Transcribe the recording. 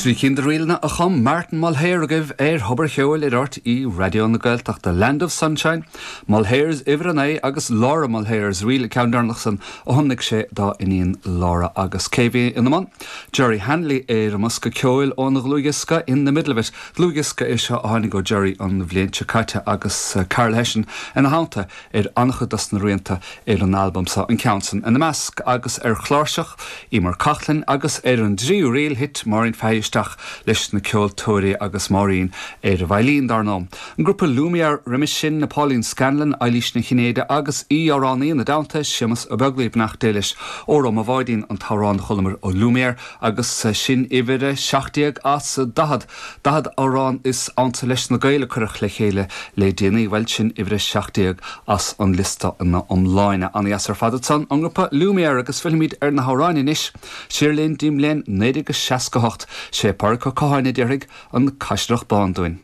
Trí cinn de ríleanna a chum Martin Mulhare agaibh ar Thobar Cheoil ar RTÉ Raidió na Gaeltachta, Land of Sunshine, Mulhare's Uimhir 9 agus Laura Mulhare's Reel, an ceann deireanach san a thiomnaigh sé dá iníon Laura. Agus cé bhí ina mbun? Jerry Hanley ar an mbosca ceoil óna dhlúthdhiosca In the Middle of It. Dlúthdhiosca é seo a tháinig ó Jerry an bhliain seo caite agus Karl Hession ina theannta ar an-chuid dos na rianta ar an albam seo, an ceann san ina measc, agus ar chláirseach, Emer Coughlan, agus ar an dtríú ríl, thit Máirín Fahy isteach leis na ceoltóirí agus Máirín ar an veidhlín, dar ndóigh. An grúpa Lumière roimis sin, Pauline Scanlon, Eilís Ní Chinnéide agus aoi-amhránaí ina dteannta, Séamus Ó Beaglaoich, beannacht Dé leis. Óró Mo Bháidín an t-amhrán a chualamar ó Lumière agus sin uimhir a 17 as 40. 40 amhrán is ansa leis na Gaeil a cuireadh le chéile le déanaí, bhuel, sin uimhir a 17 as an liosta ina iomláine. Ana-dheas ar fad ansan, an grúpa Lumière agus fillfimid ar na hamhráin anois. Siar linn dtí'n mbliain 1968, sé Pádraic Ó Catháin a déarfaidh An Caisileach Bán dúinn.